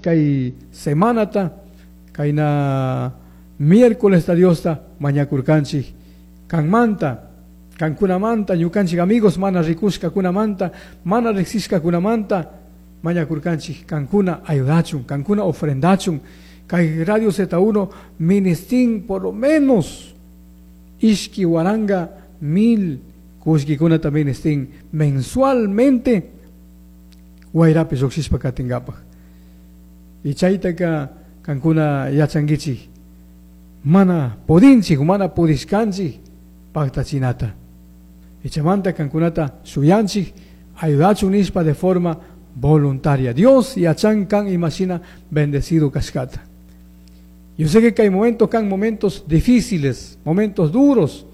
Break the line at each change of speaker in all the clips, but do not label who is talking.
Kay semanata, kayna miércoles Diosta mañakurkanchik kanmanta, kankunamanta, ñukanchik amigos mana rikushkakunamanta, mana riksishkakunamanta mañakurkanchik kankuna ayudachun, kankuna ofrendachun. Kay Radio Z1 ministin por lo menos ishki waranga mil kullkikunata ministin mensualmente wayrapi lluqshishpa katingapaj. Y chaytaka kankuna yachankichik mana pudinchik, mana pudishkanchik paktachinata. Y chaymanta kankunata shuyanchik ayudachun nishpa de forma voluntaria. Dios yachan kan imashina bendecido kashkata. Yo sé que hay momentos, que hay momentos difíciles, momentos duros,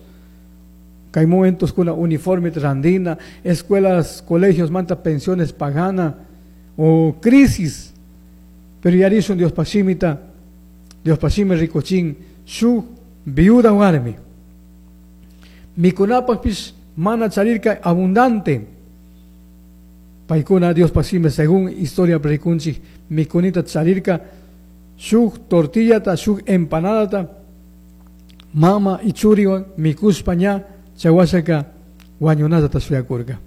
que hay momentos con uniforme randina, escuelas, colegios, manta pensiones pagana o crisis. Pero yarishun Dios pashimita, Dios pashimi rikuchin, shu viuda warmi. Mikunapajpish mana charirka abundante. Paykuna Dios pashimi según historia rikunchik, mikunita charirka, shuk tortillata, shuk empanadata, mama y churiwan mikushpa ña chawashaka wañunata shuyakurka.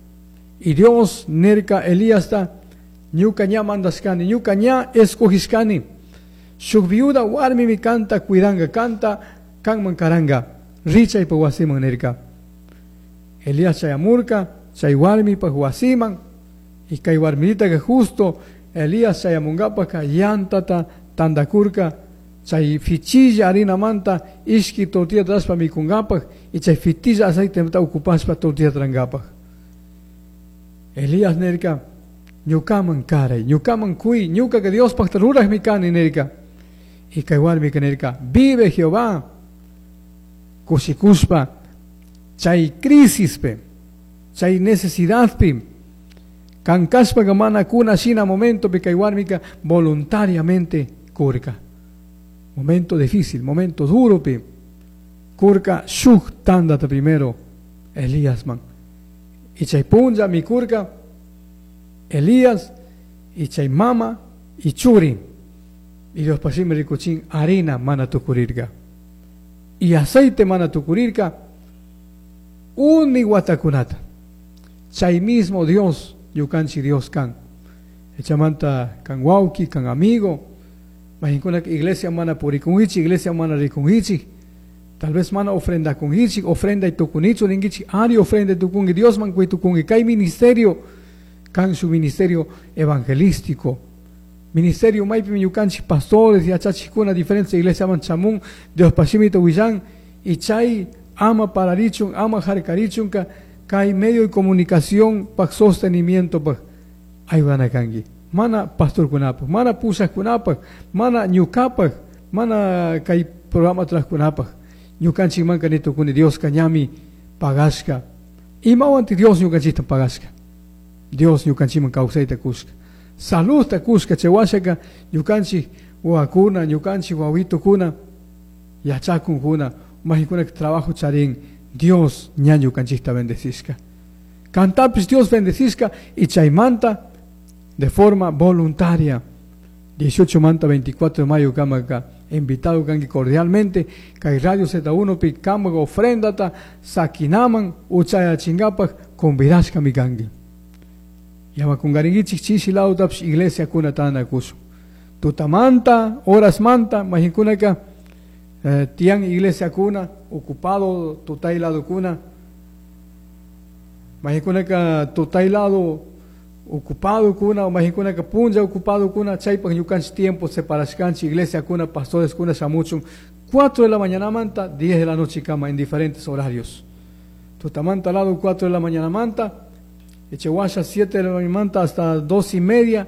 Y Dios nirka Elíasta, ñuka ña mandashkani, ñuka ña escogishkani. Shuk viuda warmi mi kanta cuidanga, kanta kanman karanga, richaypa wasiman nirka. Elías chayamurka, chay warmipa wasiman, y kay warmitaka que justo Elías chayamungapaka yantata tandakurka, chay fichilla harina manta, ishki tortilla traspa mikungapaj, y chay fitilla aceite manta ocupaspa tortilla trangapaj. Elías nirka, ñukaman karay, ñukaman kui, ñuka que Dios pacta ruraj mi kani nirka. Y kay warmika nirka, vive Jehová, kushikuspa, chay crisispe, chay necesidadpi, kankashpa mana kuna shina momento pi kay warmika voluntariamente kurka. Momento difícil, momento duro pi. Kurka shuk tandata primero Elías man. Y chay punlla mi kurka Elías y chay mama y churi. Y Dios pasime rikuchin harina mana tukurirka. Y aceite mana tukurirka uni watakunata. Chay mismo Dios, ñukanchik Dios kan. Echamanta kan wauki, kan amigo. Mahinkuna iglesia mana purikunhichik, iglesia mana rikunhichik. Tal vez mana ofrenda kunhichik, ofrenda y tukunichu ningichik, ari ofrenda y tukungi, Dios man kui tukungi. Kay ministerio, kan su ministerio evangelístico. Ministerio maypi ñukanchik pastores, yachachikuna diferentes iglesia man chamun, Dios pashimita willan, y chay ama pararichun, ama harkarichun, ka, kay medio de comunicación pa sostenimiento pa ayudana kanki. Mana pastor kunapaj, mana pusaj kunapaj, mana ñukapaj, mana kay programa tras kunapaj. Ñukanchik manka ni tukuni Dios kañami pagashka. Imawanti Dios ñukanchikta pagashka. Dios ñukanchikman kawsayta kushka. Saludta kushka chaywashaka ñukanchik wawakuna, ñukanchik wawitukuna, yachakunkuna, majikuna trabajo charin. Dios ña ñukanchikta bendecishka. Kantapis Dios bendecishka y chaymanta de forma voluntaria. 18 manta 24 de mayo kamaka invitado kanki cordialmente kay Radio Z1 pi kamaka ofrendata sakinaman uchaya chingapaj convidashka mi kanki. Yama kungaringichik chishi lautaps iglesia kuna tana kusu. Tutamanta, horas manta, mahinkunaka tian iglesia kuna, ocupado tutay lado kuna. Mahinkunaka tutay lado ocupado kuna, mahinkunaka punlla ocupado kuna, chaypaj ñukanchik tiempo separashkanchik iglesia kuna, pastores kuna shamuchun, 4 de la mañana manta, 10 de la noche kama en diferentes horarios. Tutamanta lado 4 de la mañana manta, Echehuasha 7 de la mañana manta hasta 2:30,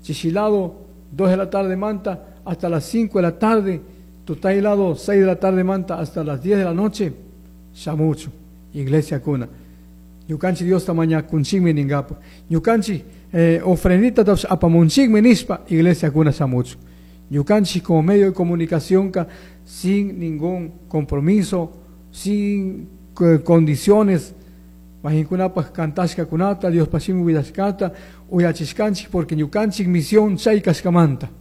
Chichilado 2 de la tarde manta hasta las 5 de la tarde, Tutay lado 6 de la tarde manta hasta las 10 de la noche, shamuchu, iglesia kuna. Ñukanchik Dios tamaña kunchikmi ningapa. Ñukanchik ofrendita taps apamunchikmi nishpa, iglesia kuna shamuchu. Ñukanchik como medio de comunicación ka, sin ningún compromiso, sin condiciones, mahinkunapaj kantashka kunata, Dios pashimi willashkata, uyachishkanchik porque ñukanchik misión chay kashkamanta.